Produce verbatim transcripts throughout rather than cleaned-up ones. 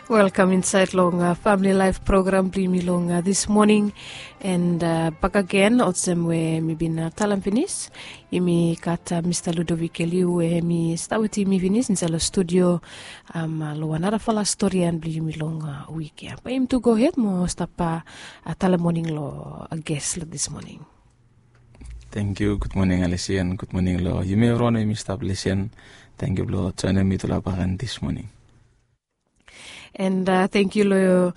Welkam insaed long famili laef program blong yumi long dis moning. And bakagen olsem we mi bin talem finis, yumi gat Mista Ludovic Eliu we hem i stap wetem yumi finis insaed long studio long wan narafala storian blong yumi long wik ya. Bae yumi tu gohed mo stap talem moning long ges long dis moning. Tangkiu, gud moning Alesi, and gud moning long yumi evriwan we yumi stap lisen. Tangkiu blong joenem mitufala bak long dis moning. And tangkiu long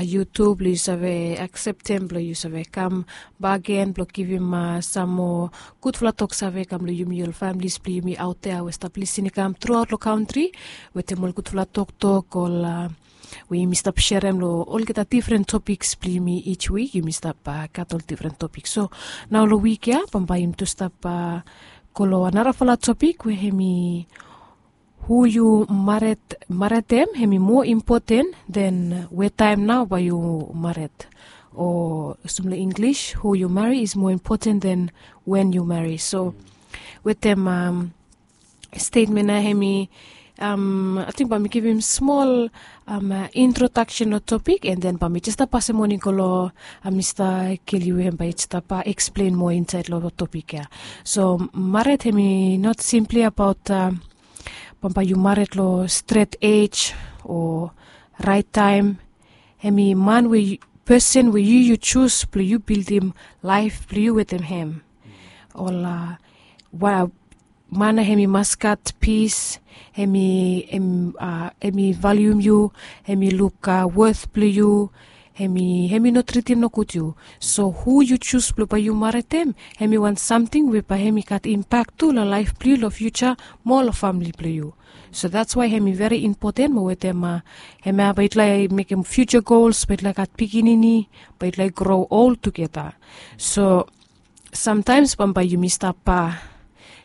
yu tu blong yu save akseptem blong yu save kam bakegen blong givim sam moa gudfala toksave kam long yumi ol familis blong yumi aotea we stap lisin i kam truaot long kantri wetem ol gudfala toktok ol we yumi stap serem long olgeta difren topiks blong yumi. Each wik yumi stap gat ol difren topiks. So nao long wik ya bambae yumi tu stap go long narafala topik we hem i hu yu mared, maredem hem i moa impoten den we taem nao bae yu mared. O olsem long Inglis, who you marry is more important than when you marry. So wetem stetmen ya hem i ating bae mi givim smol introdaksen long topik, and then bae mi jes stap pasem moning go long Mista Keli we hem bae i stap eksplen moa insaed long topik ya. So mared hem i not simpli abaot bambae yu mared long stret ej o raet taem. Hem i man we, pesen we yu yu jus blong yu bildim laef blong yu wetem hem. Ol man ya hem i mas gat pis, hem i hem i valium yu, hem i luk wet blong yu, hem i hem i no tritim nogud yu. So hu yu jus blong bae yu maredem hem i wan samting we bae hem i gat impak tu long laef blong yu long fiuja mo long famili blong yu. So dats wae hem i veri impoten mo wetem hem ya bae yutufala i mekem fiuja gols, bae yutufala i gat pikinini, bae yutufala i gro ol tugeta. So samtaems bambae yumi stap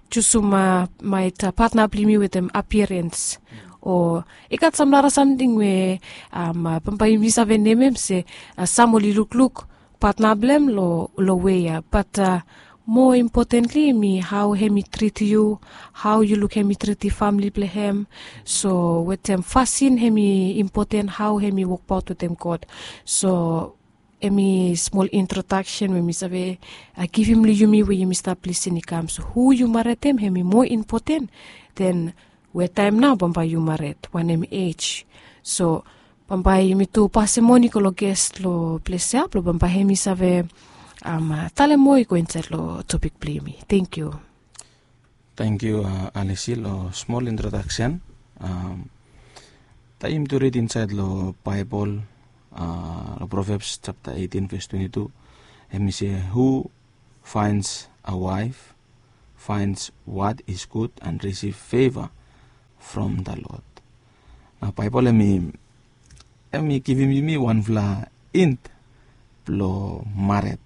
jusum maet patna blong yumi wetem apiarens o i gat sam nara samting we bambae yumi save nemem se sam oli lukluk patna blong hem long wei ya. Bat moa impotentli hem i hao hem i tritim yu, hao yu luk hem i tritim famili blong hem. So wetem fasin hem i impoten hao hem i wokbaot wetem God. So hem i smol introdaksen we mi save givim long yumi we yumi stap lisin i kam. So hu yu maredem hem i moa impoten den we taem nao bambae yu mared, wanem ej. So bambae yumi tu pasem moning go long ges long ples ya blong bambae hem i save talem moa i go insaed long topik blong yumi. Tangkiu. Tangkiu Alesi long smol introdaksen. Taem yumi tu rid insaed long Baebol long Provebs japta eitin ves twenti tu, hem i se, who finds a wife finds what is good and receive favor from the Lord. Nao Baebol hem i hem i givim yumi wanfala int blong mared.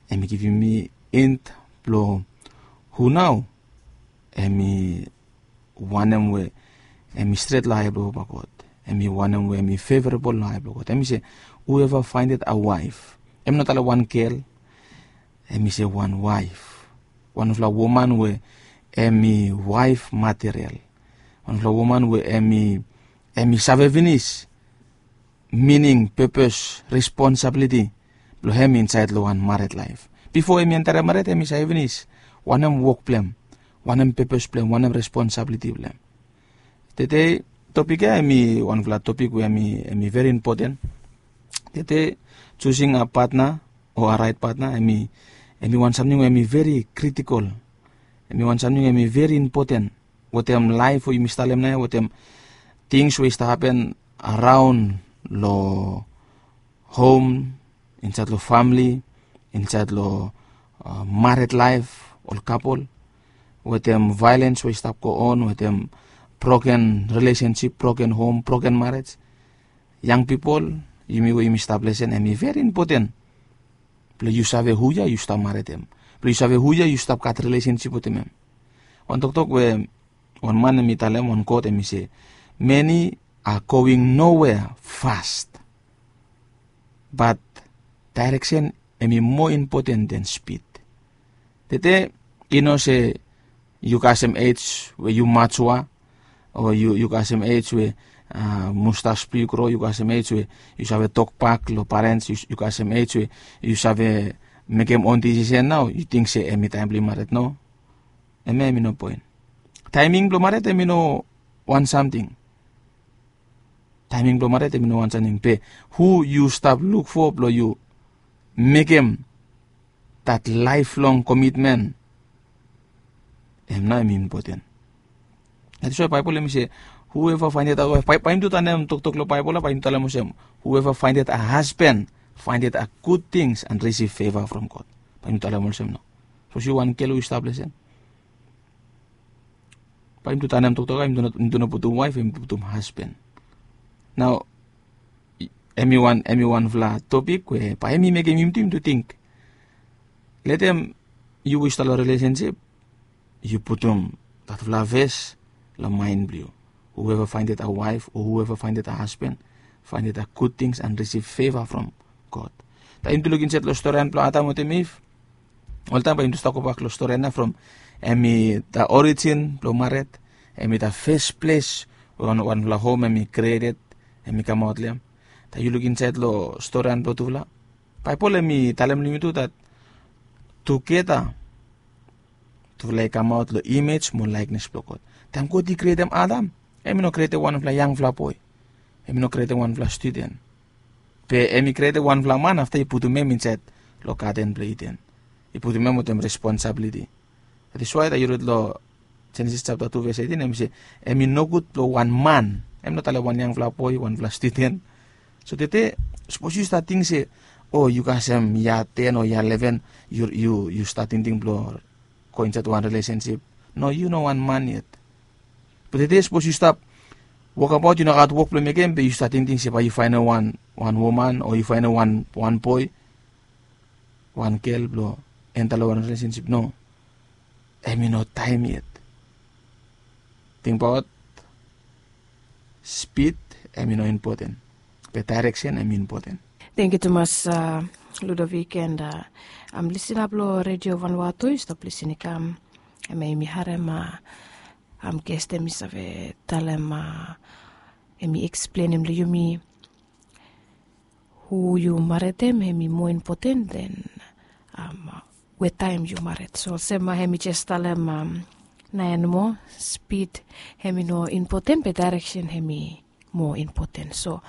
Hem i givim yumi int blong hu nao hem i wanem we hem i stret long ae blong papa God. Hem i wanem we hem i fevorabol long ae blong God. Hem i se, whoever findeth a wife. Hem i no talem wan gel. Hem i se wan waef, wanfala woman we hem i waef material, wanfala woman we hem i hem i save finis mining, pepes, responsabiliti blong hem insaed long wan mared laef. Bifo hem i enterem mared hem i save finis wanem wok blong hem, wanem pepes blong hem, wanem responsabiliti blong hem. Tede topik ya hem i wanfala topik we hem i veri impoten. Tede, jusing a patna o a raet patna hem i hem i wan samting we hem i veri kritikol. Hem i wan samting we hem i veri impoten wetem laef we yumi stap talem nao ya, wetem tings we i stap hapen araon long hom, insaed long famili, insaed long mared laef, ol kapol, wetem vaelens we i stap go on, wetem broken rilesensip, broken hom, broken marej. Yang pipol, yumi we yumi stap lesen, hem i veri impoten blong yu save hu ya yu stap maredem, blong yu save hu ya yu stap gat rilesensip wetem hem. Wan toktok we wan man hem i talem, wan kot hem i se, many are going nowhere fast, but direction hem i moa impoten than speed. Tede i no se yu kasem ej we yu matua, O yu kasem ej we mustas blong yu gro, yu kasem ej we yu save tokbak long parens, yu kasem ej we yu save mekem on disisen nao, yu ting se em i taem blong yu mared? No. Em ya em i no poen. Taeming blong mared em i no wan samting. Taeming blong mared em i no wan samting, be hu yu stap luk fo blong yu mekem dat laeflong komitmen, em nao em i impoten. That is why Baebol em i se, whoever findeth a wife, bae yumi tu tanem toktok long Baebol ya, bae yumi talem olsem, whoever findeth a husband findeth a good things and receive favor from God. Bae yumi talem olsem nao. Sapos yu wan gel we yu stap lesen, bae yumi tu tanem toktok ya, yumi tu no putum waef, yumi putum hasban. Nao em i wan em i wanfala topik we bae em i mekem yumi tu yumi tu ting. Letem yu we yu stap long relesensip, yu putum datfala ves long maen blong yu. Whoever findeth a wife or whoever findeth a husband findeth a good things and receive favor from God. Taem yumi tu luk insaed long storian blong Adam wetem Iv, oltaem bae yumi tu stap gobak long storian ya from em i da orijin blong mared, em i da fes ples we wanfala hom em i krieted, em i kamaot long em. Taem yu luk insaed long storian blong tufala, Baebol em i talem long yumi tu dat tugeta tufala i kamaot long imej mo laeknes blong God. Taem God i krietem Adam, em i no krietem wanfala yangfala boe, em i no krietem wanfala studen. Be em i krietem wanfala man afta i putum em insaed long gaden blong Iden. I putum em wetem responsabiliti. That is why taem yu rid long Jenesis japta tu ves eitin, em i se, em i nogud blong wan man, em no talem wan yangfala boe, wanfala studen. So tede, sapos yu stat ting se, o, yu kasem yia ten o yia leven, yu yu yu stat tingting blong go insaed wan relesensip. No, yu no wan man yet. Be tede sapos yu stap wokabaot, yu no gat wok blong mekem, be yu stat tingting se bae yu faenem wan wan woman o yu faenem wan wan boe, wan gel blong enta long wan relesensip. No, em i no taem yet. Tingbaot, spid em i no impoten, be daereksen em i impoten. Tangkiu tumas, Ludovik, and am lisina blong Redio Vanuatu, yu stap lisin i kam, em ya yumi harem am ges em i save talem, em i eksplenem long yumi hu yu maretem em i moa impoten den wetaem yu mared. So olsem em i jes talem naen moa, spid em i no impoten, be daereksen em i moa impoten. So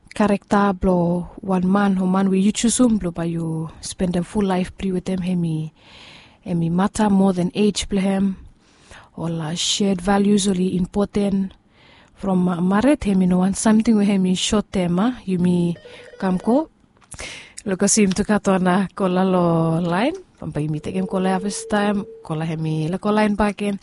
karekta blong wan man o man we yu jusum blong bae yu spendem ful laef blong yu wetem, em i mata moa den ej blong hem. Ol shed valius oli impoten. From mared em i no wan samting we em i sot tem, a, yumi kam go. Long olsem yumi tu gat wan kola long laen, bambae yumi tekem kola ya fastaem, kola em i long laen bakegen.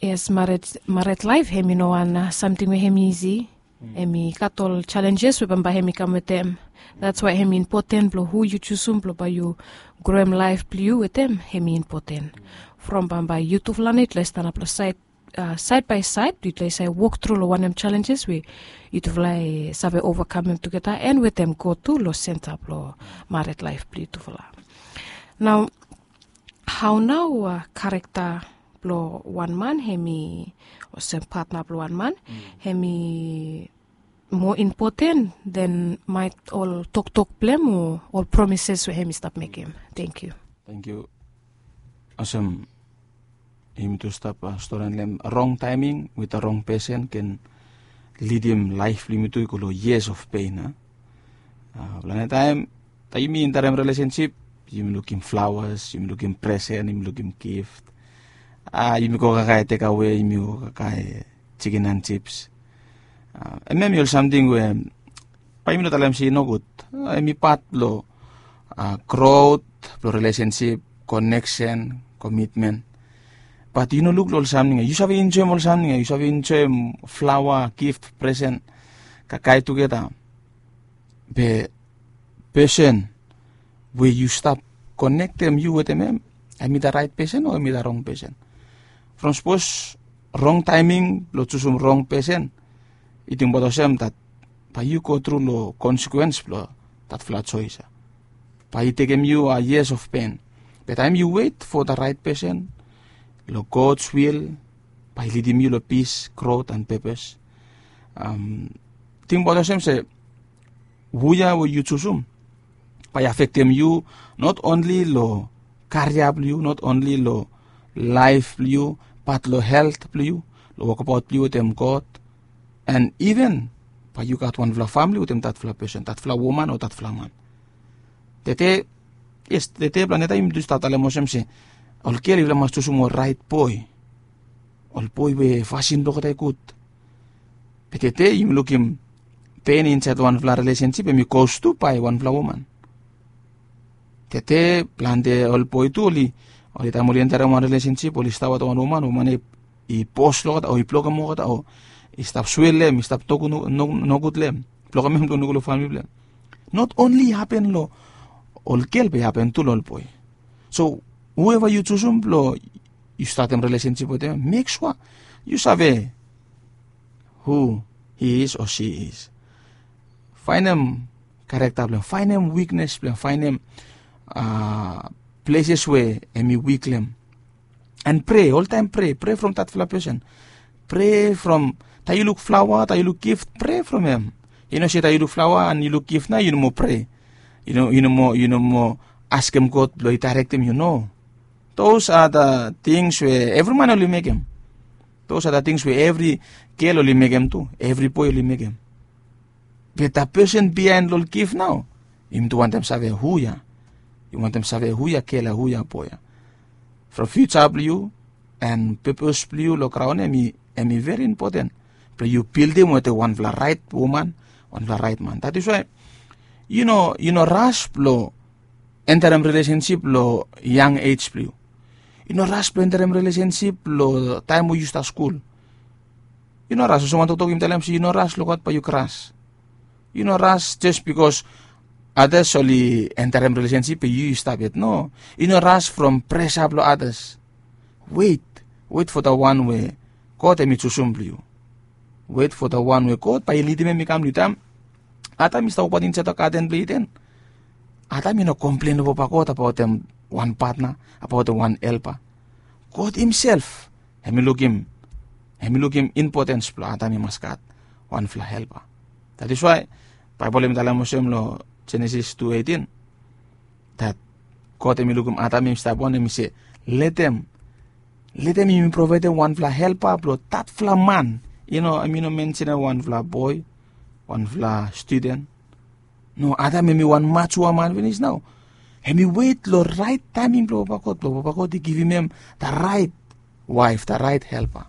Yes, mared laef em i no wan samting we em i isi. Em i gat ol jalenjes we bambae em i kam wetem. That's why em i impoten blong hu yu jusum blong bae yu groem laef blong yu wetem, em i impoten. From bambae yutufala nao yutufala i stanap long saed, saed bae saed, yutufala i save wok tru long wanem jalenjes we yutufala i save ovakamem tugeta, and wetem God tu long senta blong mared laef blong yutufala. Nao, hao nao karekta blong wan man em i, olsem patna blong wan man, em i moa impoten den maet ol toktok blong hem o ol promises we em i stap mekem? Tangkiu. Tangkiu. Olsem yumi tu stap storian long hem, rong taeming wit rong pesen ken lidim laef blong yumi tu i go long years of pain, a. Planti taem, taem yumi entarem relesensip, yumi lukim flaoas, yumi lukim presen, yumi lukim gift. Yumi go kakae tekawe, yumi go kakae jikin and jips. Hemia hemi ol samting we bae yumi no talem se i nogud. Hemi pat blong grot blong relesensip, koneksen, komitmen. Bat yu no luk long ol samting ya. Yu save enjoem ol samting ya, yu save enjoem flaoa, gift, presen, kakae tugeta. Be pesen we yu stap konektem yu wetem hem, hemi da raet pesen o hemi da rong pesen? From sapos rong taeming blong jusum rong pesen, yu tingbaot olsem dat bae yu go tru long konsekwens blong datfala joes ya. Bae i tekem yu years of pain. Be taem yu wet fo da raet pesen long God's will, bae i lidim yu long pis, grot and pepes. Tingbaot olsem se hu ya we yu jusum bae i afektem yu, not onli long karia blong yu, not onli long laef blong yu, bat long helt blong yu, long wokabaot blong yu wetem God. And iven bae yu gat wanfala famle wetem datfala pesen, datfala woman o datfala man. Tete, yes, tete plante taem yumi tu stap talem olsem se ol gel yufala mas jusum ol raet boe, ol boe we fasin blong olgeta i gud. Be tete yumi lukim pen insaed long wanfala rilesensip hem i gos tu bae wanfala woman. Tete plante ol boe tu oli, oli taem oli enterem wan rilesensip oli stap wetem wan woman, woman ya i bos long olgeta o i blokem olgeta o i stap swel long hem, i stap toku nogud long hem, blokem hem blong nogud long famle blong hem. Not onli i hapen long ol gel be i hapen tu long ol boe. So hueva yu jusum blong yu statem rilesensip wetem hem, mek sua yu save hu hi is o si is. Faenem karekta blong hem, faenem wiknes blong hem, faenem pleses we hem i wik long hem. And prea, oltaem prea, prea from datfala pesen. Prea from taem yu luk flaoa, taem yu luk gif, prea from hem. Yu no se taem yu luk flaoa and yu luk gif nao yu no moa prea. Yu no, yu no moa, yu no moa askem God blong i daerektem yu, no. Those are the things we evri man oli mekem. Those are the things we evri gel oli mekem tu, evri boe oli mekem. Be that person bihaen long ol gif nao, yumi tu wantem save hu ya. Yumi wantem save hu ya gel ya, hu ya boe ya. From fiuja blong yu and pepes blong yu long graon ya, hem i veri impoten blong yu bildim wetem wanfala raet woman, wanfala raet man. That is why yu no, yu no ras blong enterem rilesensip long yang ej blong yu. Yu no ras blong enterem rilesensip long taem we yu stap skul. Yu no ras, olsem wan toktok yumi talem se yu no ras long God bae yu kras. Yu no ras jes bikos adas oli enterem rilesensip be yu yu stap yet, no. Yu no ras from presa blong adas. Wet, wet fo da wan we God hem i jusum blong yu. Wet fo da wan we God bae i lidim hem i kam long yu. Taem Adam i stap wokbaot insaed long gaden blong Iden, Adam i no komplen long papa God abaotem wan patna, abaotem wan helpa. God himself hem i lukim, hem i lukim impotens blong Adam i mas gat wanfala helpa. That is why Baebol hem i talem olsem long Jenesis tu eitin, that God hem i lukim Adam hem i stap wan, hem i se, letem, letem yumi provaedem wanfala helpa blong datfala man. Yu no, hem i no mensenem wanfala boe, wanfala studen. No, Adam hem i wan majua man finis nao. Hem i wet long raet taeming blong Papa God, blong Papa God i givim hem da raet waef, da raet helpa.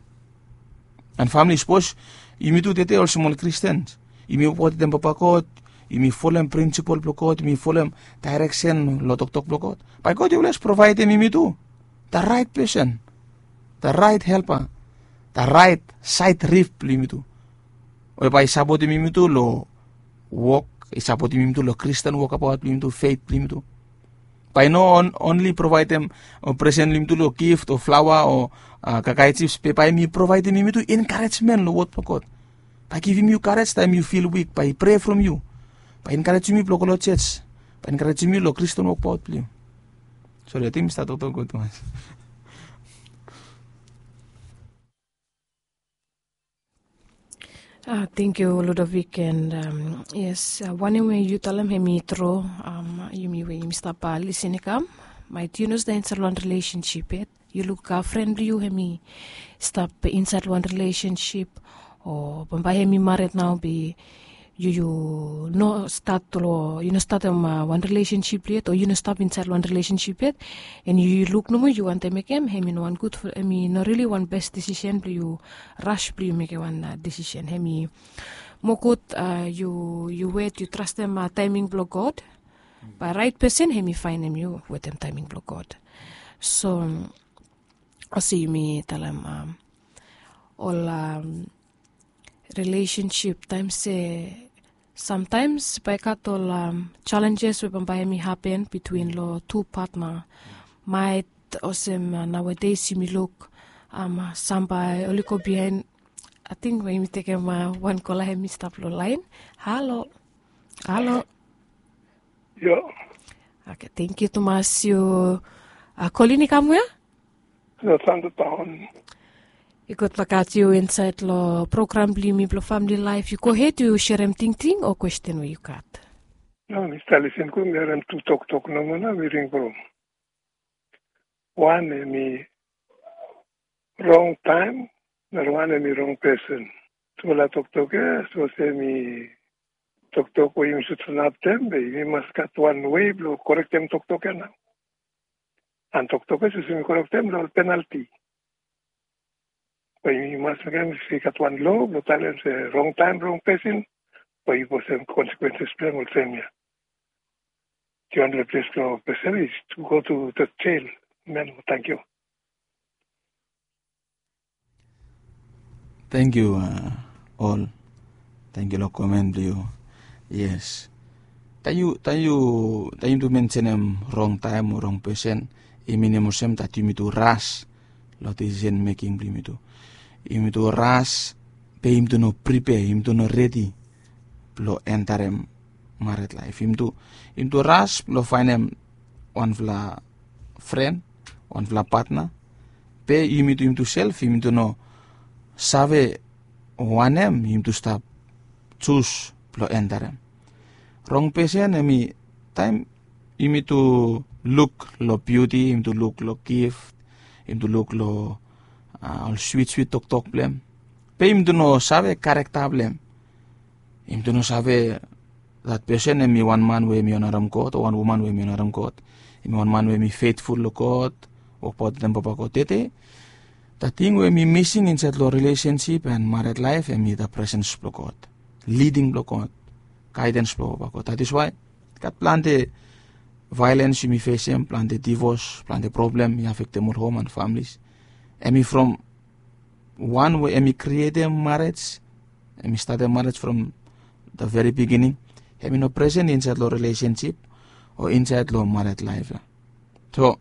And famle, sapos yumi tu tede olsem ol Kristen, yumi wokabaot wetem Papa God, yumi folem prinsipol blong God, yumi folem daereksen long toktok blong God, bae God i oles provaedem yumi tu da raet pesen, da raet helpa, da raet saed rif blong yumi tu, we bae i sapotem yumi tu long wok, i sapotem yumi tu long Kristen wokabaot blong yumi tu, fet blong yumi tu. Bae i no onli provaedem presen long yumi tu long gift o flaoa o kakae jips, be bae hem i provaedem yumi tu enkarejmen long wod blong God. Bae i givim yu karej taem yu fil wik, bae i prea from yu, bae i enkarejem yu blong go long jos, bae i enkarejem yu long Kristen wokbaot blong yu. Sori, ating mi stap toktok gud tumas. Tengkiu Ludovic, and yes, wanem we yu talem hem i tru. Yumi we yumi stap lisin i kam, maet yu no stap insaed long wan rilesensip yet, yu luk fren blong yu hem i stap insaed long wan rilesensip, o bambae hem i mared nao, be yu, yu no stat long, yu no statem wan rilesensip yet, o yu no stap insaed long wan rilesensip yet, and yu luk nomo yu wantem mekem, hem i no wan gud, hem i no rili wan bes disisen blong yu ras blong yu mekem wan disisen. Hem i moa gud yu, yu wet, yu trastem taeming blong God. Bae raet pesen hem i faenem yu wetem taeming blong God. So olsem yumi talem, ol rilesensip taem se samtaems bae i gat ol jalenjes we bambae hem i hapen bitwin long tu patna. Maet olsem naoades yumi luk sam bae oli go biaen. Ating we yumi tekem wan kola hem i stap long laen. Halo. Halo. Oke, tengkiu tumas yu. Kolin i kam wea? Lo Santo Town. I gud blong gat yu insaed long program blong yumi blong famili laef. Yu gohed yu serem tingting o kwesten we yu gat. No, mi stap lisin gud, mi harem tu toktok nomo nao mi ring from. Wan hemi rong taem, nara wan hemi rong pesen. Tufala toktok ya so se mi toktok we yumi sud sanap tem be yumi mas gat wan wei blong korektem toktok ya nao. An toktok ya so se mi korektem long ol penalti. Be yumi mas mekem se i gat wan lo blong talem se rong taem rong pesen, be yu bosem konsekwenses blong hem olsem ya. Yu wanpela ples blong pesen is to go to the jail. Amen. Thank you. Thank you, ol. Thank you long comment blong yu. Yes. Taem yu taem yu taem yu tu mensenem rong taem o rong pesen, i minim olsem dat yumi tu ras long decision making blong yumi tu. Yumi tu ras, be yumi tu no prepare, yumi tu no redi blong entarem maret laef. Yumi tu yumi tu ras blong faenem wanfala fren, wanfala patna, be yumi tu yumi tu sel yumi tu no save wanem yumi tu stap jus blong entarem. Rong pesen hemi taem yumi tu luk long biuti, yumi tu luk long gift, yumi tu luk long ol swit swit toktok blong hem, be yumi tu no save karekta blong hem. Yumi tu no save dat pesen hemi wan man we hemi onarem God o wan woman we hemi onarem God. Hemi wan man we hemi fetful long God, wokbaot wetem Papa God. Tete dat ting we hemi mising insaed long rilesensip an maret laef hemi dat presens blong God, liding blong God, gaedens blong Papa God. Dat is wae gat plante vaelens yumi fesem, plante divos, plante problem i afektem ol hom an familis. Hemi from wan we hemi krietem marej, hemi statem marej from the very beginning, hemi no presen insaed long rilesensip o insaed long maret laef ya. So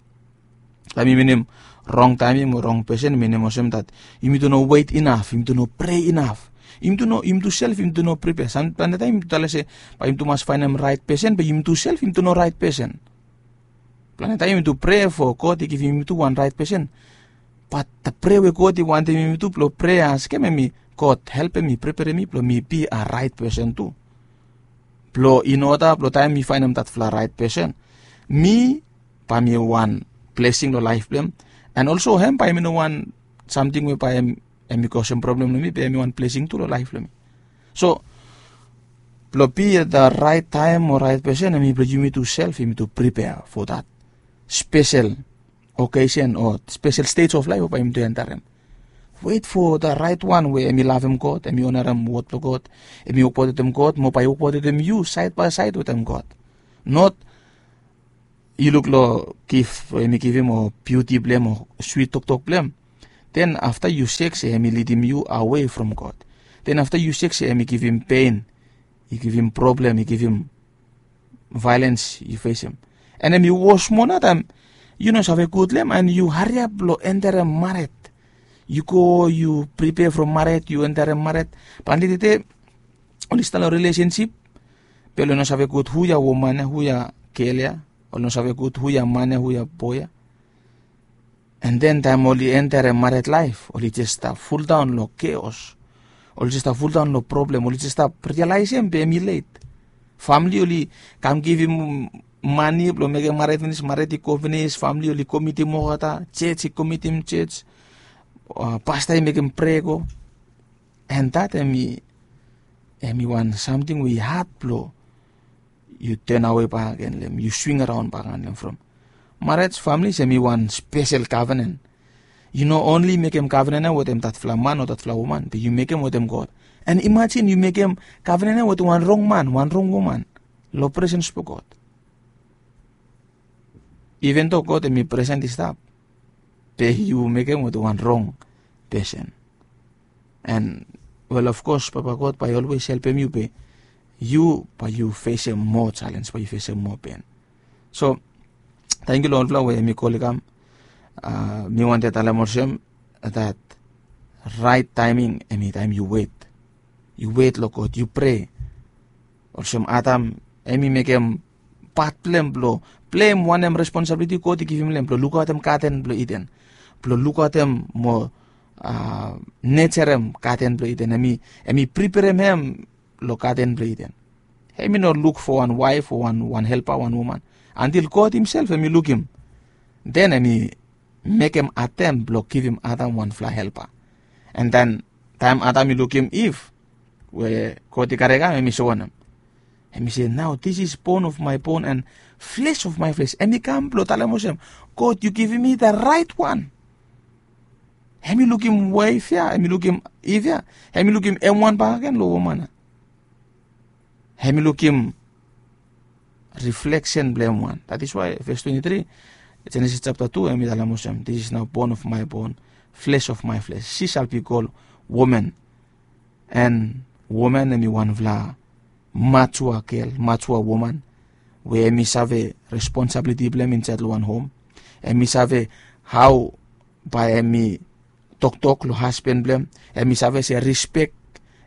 taem i minim rong taeming o rong pesen, minim olsem dat yumi tu no wet inaf, yumi tu no prea inaf, yumi tu no yumi tu sel yumi tu no pripea. Sam plante taem yumi tu talem se bae yumi tu mas faenem raet pesen, be yumi tu sel yumi tu no raet pesen. Plante taem yumi tu prea fo God i givim yumi tu wan raet pesen, bat da prea we God i wantem yumi tu blong prea askem hemi, God helpem mi, preperem mi blong mi bi a raet pesen tu, blong in oda blong taem mi faenem datfala raet pesen, mi bae mi wan blesing long laef blong hem. An olso hem bae mi no wan samting we bae hem i kosem problem long mi, be hem i wan blesing tu long laef blong mi. So blong bi at da raet taem o raet pesen hem i blong yumi tu sel yumi tu pripea fo dat spesel okesen o spesel stej of laef we bae yumi tu entarem. Wet fo da raet wan we hem i lavem God, hem i onarem wod blong God, hem i wokbaot wetem God mo bae i wokbaot wetem yu saed bae saed wetem God. Not yu luk long gif we hem i givim o biuti blong hem o swit toktok blong hem, den afta yu sek se hem i lidim yu awe from God. Den afta yu sek se hem i givim pen, i givim problem, i givim vaelens yu fesem. An hem i wos moa nao taem yu no save gud long hem an yu hariap blong enterem maret. Yu go yu pripea from maret, yu enterem maret. Plante tete oli stap long rilesensip, be oli no save gud hu ya woman ya, hu ya gel ya, oli no save gud hu ya man ya, hu ya boe ya. An den taem oli enterem maret laef oli jes stap fuldaon long keos. Oli jes stap fuldaon long problem, oli jes stap rialaesem be hem i let. Famili oli kam givim mane blong mekem maret finis, maret i go finis, famili oli komitim olgeta, jej i komitim jej, pasta i mekem prea go. An dat hem i hem i wan samting we i had blong yu tenawe bakagen long hem, yu swing araon bakagen long hem from. Marej, famili, hem i wan spesel kavenen. Yu no onli mekem kavenen ya wetem datfala man o datfala woman, be yu mekem wetem God. An imajin yu mekem kavenen ya wetem wan rong man, wan rong woman long presens blong God. Iven do God hem i presen i stap, be yu mekem wetem wan rong pesen. An wel, of kos, Papa God bae i olwes helpem yu be yu bae yu fesem moa jalens, bae yu fesem moa pen. So tangkiu long olfala we hem i kol i kam. Mi wantem talem olsem dat raet taeming hem i taem yu wet. Yu wet long God, yu prea. Olsem Adam hem i mekem pat blong hem blong pleim wanem responsabiliti God i givim long hem blong lukaotem gaden blong Iden, blong lukaotem mo nejerem gaden blong Iden, em i priperem hem long gaden blong Iden. Em i no luk fo wan waef o wan helpa, wan woman, antil God himself em i lukim. Den em i mekem atem blong givim Adam wanfala helpa. And then taem Adam i lukim Iv we God i karem, em i sowanem? Em i se, nao this is bone of my bone and flesh of my flesh. Em i kam blong talem olsem, God, yu givim mi the right one. Em i lukim waef ya, em i lukim Iv ya, em i lukim em wan bakegen long woman ya. Em i lukim reflection blong em wan. That is why verse twenty-three, Genesis chapter two, em i talem olsem, this is now bone of my bone, flesh of my flesh, she shall be called woman. And woman em i wanfala matua gel, matua woman, we em i save responsibility blong em insaed long wan hom. Em i save hao bae em i toktok long hasben blong em. Em i save se respek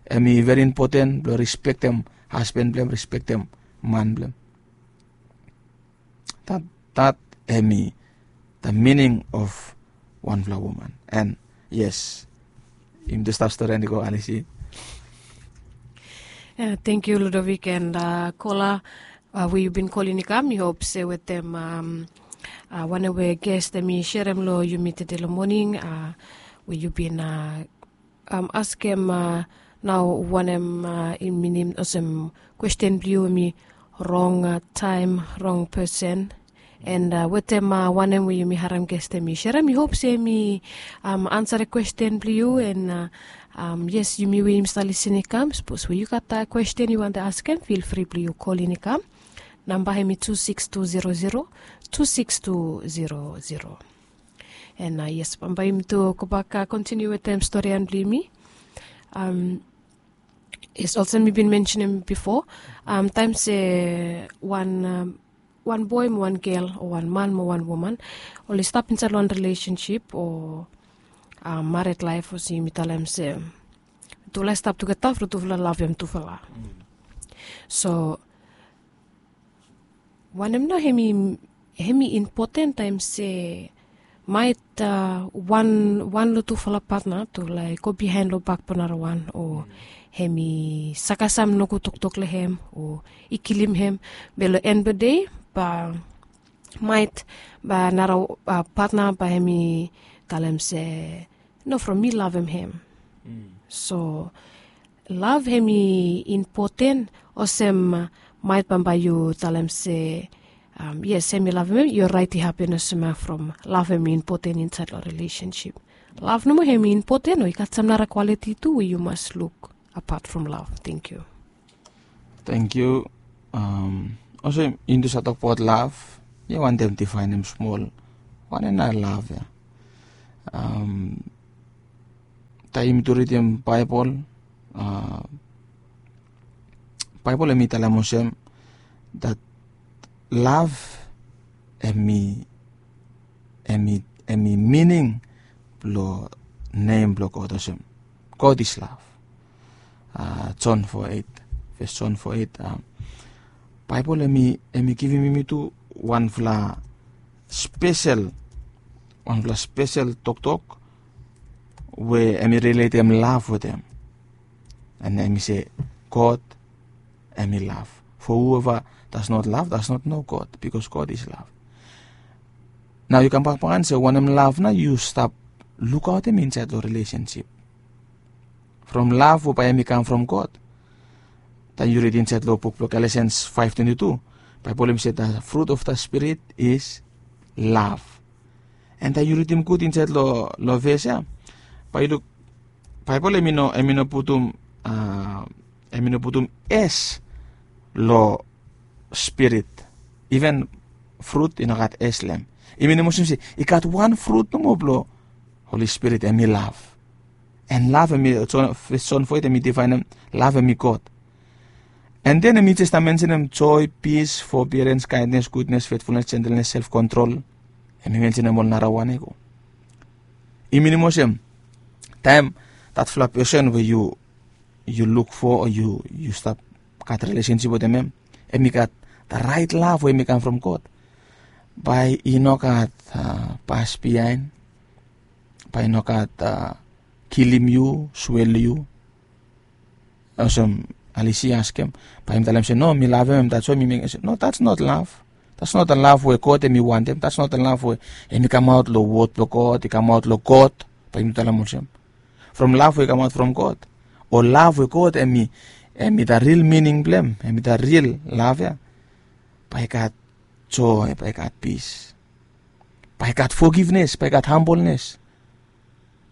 em i veri impoten blong respektem hasben blong em, respektem man blong em. That, that em i the meaning of wanfala woman. And yes, yumi tu stap stori and i go, Alisi. Thank you, Ludovic and Kola, we yu bin kolin i kam. Mi hop se wetem wanem we ges em i serem long yumi tede long moning, we yu bin askem nao wanem i minim olsem kwesten blong yu em i rong taem, rong pesen. And wetem wanem we yumi harem ges em i serem, mi hop se em i ansa kwesten blong yu. And yes, yumi we yumi stap lisin i kam, sapos we yu gat kwesten yu wantem askem, fil fri blong yu kolin i kam. Namba em i tu sikis tu zero zero, tu sikis tu zero zero. And yes, bambae yumi tu gobak kontiniu wetem storian blong yumi. Yes, olsem mi bin mensenem bifo, taem se wan boe mo wan gel o wan man mo wan woman oli stap insaed long wan rilesensip o mared laef, olsem yumi talem se tufala i stap tugeta from tufala lavem tufala. So wanem nao hem i impoten taem se maet wan long tufala patna tu laek go biaen long bak blong narawan, o hem i sakasam nogud toktok long hem o i kilim hem. Be long en blong dei bae maet bae nara patna bae hem i talem se no, from mi lavem hem. So lav hem i impoten olsem maet bambae yu talem se yes, hem i lavem hem. Yu raet i hapen olsem ya from lav hem i impoten insaed long rilesensip. Lav nomo hem i impoten o i gat sam nara kwaliti tu we yu mas luk apat from lav? Thank you. Thank you. Olsem yumi tu save tokbaot lav, yu wantem difaenem smol wanem nao lav ya? Taem yumi tu ridim Baebol, Baebol hem i talem olsem that lav hem i hem i mining blong nem blong God olsem, God is love. Jon fo eit, ves Jon fo eit. Baebol hem i givim yumi tu wanfala spesel, wanfala spesel toktok we hem i riletem lav wetem. And hem i se God hem i lav. For whoever does not love does not know God, because God is love. Nao yu kambak baken se wanem lav nao yu stap lukaotem insaed long rilesensip from lav we bae hem i kam from God. Taem yu rid insaed long buk blong Galatians five twenty-two, Baebol hem i se the fruit of the Spirit is love. And taem yu ridim gud insaed long ves ya, bae yu luk Baebol hem i no putum, hem i no putum es long Spirit. Even frut i no gat es long hem. I minim olsem se i gat wan frut nomo blong Holi Spirit, hem i lav. And lav hem i, Jon fo eit hem i difaenem lav hem i God. And then hem i jes stap mensenem joy, peace, forbearance, kindness, goodness, faithfulness, gentleness, self control. Hem i mensenem ol narawan ya go. I minim olsem taem datfala pesen we yu yu luk fo o yu stap gat rilesensip wetem hem, hem i gat the right lav we hem i kam from God, bae i no gat pas biaen, bae i no gat kilim yu, swel yu. Olsem Alisi askem, bae yumi talem se no, mi lavem hem, that's why mi mekem se no, that's not love. That's not the love we God hemi wantem. That's not the love we hemi kamaot long wod blong God, i kamaot long God. Bae yumi talem olsem, from love we i kamaot from God, o love we God hemi, hemi the real meaning blong hem, hemi the real love ya, bae i gat joy, bae i gat peace, bae i gat forgiveness, bae i gat humbleness.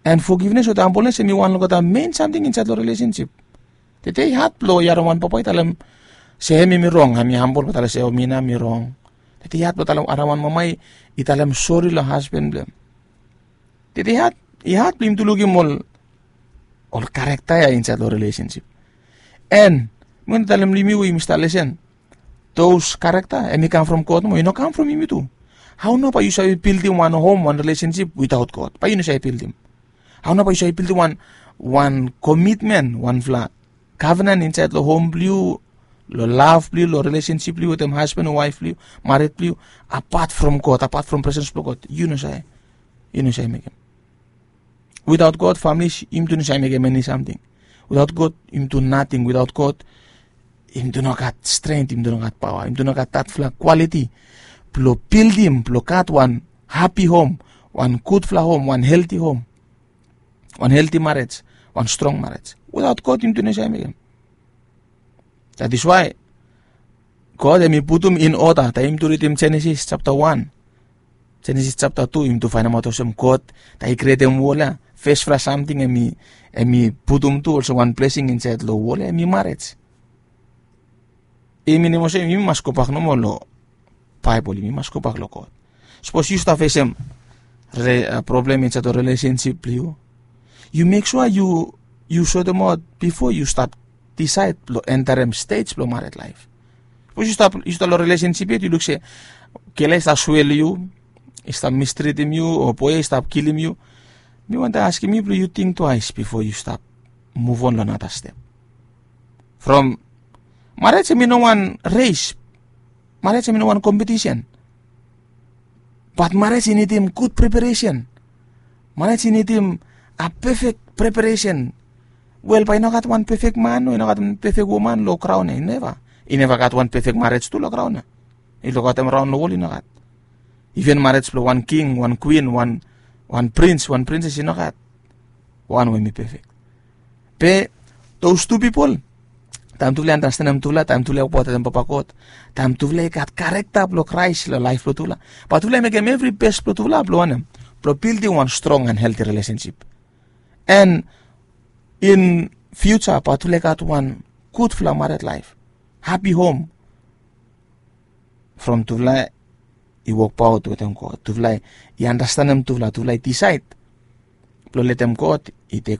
And forgiveness wetem humbleness hemi wan long olgeta main samting insaed long relationship. Tede i had blong yu harim wan papa i talem se hem hemi rong, hemi humble blong talem se o, mi nao mi rong. Tede i had blong talem harim wan mama i talem sori long hasban blong hem. Tede i had, i had blong yumi tu lukim ol, ol character ya insaed long relationship. And mi wantem talem long yumi we yumi stap lesen, those character hemi kam from God mo, i no kam from yumi tu. Hao nao bae yu save bildim wan hom, wan relationship without God? Bae yu no save bildim. Hao nao bae yu save bildim wan, wan commitment, wanfala covenant insaed long hom blong yu, long love blong yu, long relationship blong yu wetem hasban o waef blong yu, mared blong yu, apart from God, apart from presence blong God? Yu no save. Yu no save mekem. Without God, families, yumi tu no save mekem eni samting. Without God, yumi tu nating. Without God, yumi tu no gat strength, yumi tu no gat paoa, yumi tu no gat datfala quality blong bildim, blong gat wan happy home, wan gudfala home, wan healthy home, wan healthy marriage, wan strong marriage. Without God, yumi tu no save mekem. That is why God hemi putum in order. Taem yumi tu ridim Genesis chapter one, Genesis chapter two, yumi tu faenemaot olsem God, taem i krietem wol ya, fesfala samting hemi, hemi putum tu olsem wan blessing insaed long wol ya, hemi marriage. I minim olsem yumi mas gobak nomo long Baebol, yumi mas gobak long God. Sapos yu stap fesem re, a, problem insaed long relationship blong yu, yu mek sua yu, yu sotem aot bifo yu stap disaed blong enterem stej blong mared laef. Sapos yu stap, yu stap long relationship yet, yu luk se gel ya i stap swel yu, i stap mistritim yu, o boe ya i stap kilim yu, mi wantem askem yu blong yu ting twaes bifo yu stap muvon long nara step. From, mared hemi no wan res, mared hemi no wan kompetisen. Bat mared i nidim gud preparesen. Mared i nidim a pefek preparesen. Wel, bae i no gat wan pefek man o i no gat wan pefek woman long graon ya, i neva. I neva gat wan pefek mared tu long graon ya. I lukaotem raon long wol, i no gat. Iven mared blong wan king, wan kwin, wan, wan prins, wan prinses, i no gat wan we hemi pefek. Be those two pipol, taem tufala i andastanem tufala, taem tufala i wokbaot wetem Papa God, taem tufala i gat karekta blong Kraes long laef blong tufala, bae tufala i mekem evri bes blong tufala blong wanem? Blong bildim wan strong and healthy relationship. And in future bae tufala i gat wan gudfala mared laef, happy home. From tufala i wokbaot wetem God, tufala i andastanem tufala, tufala i disaed blong letem God i tekem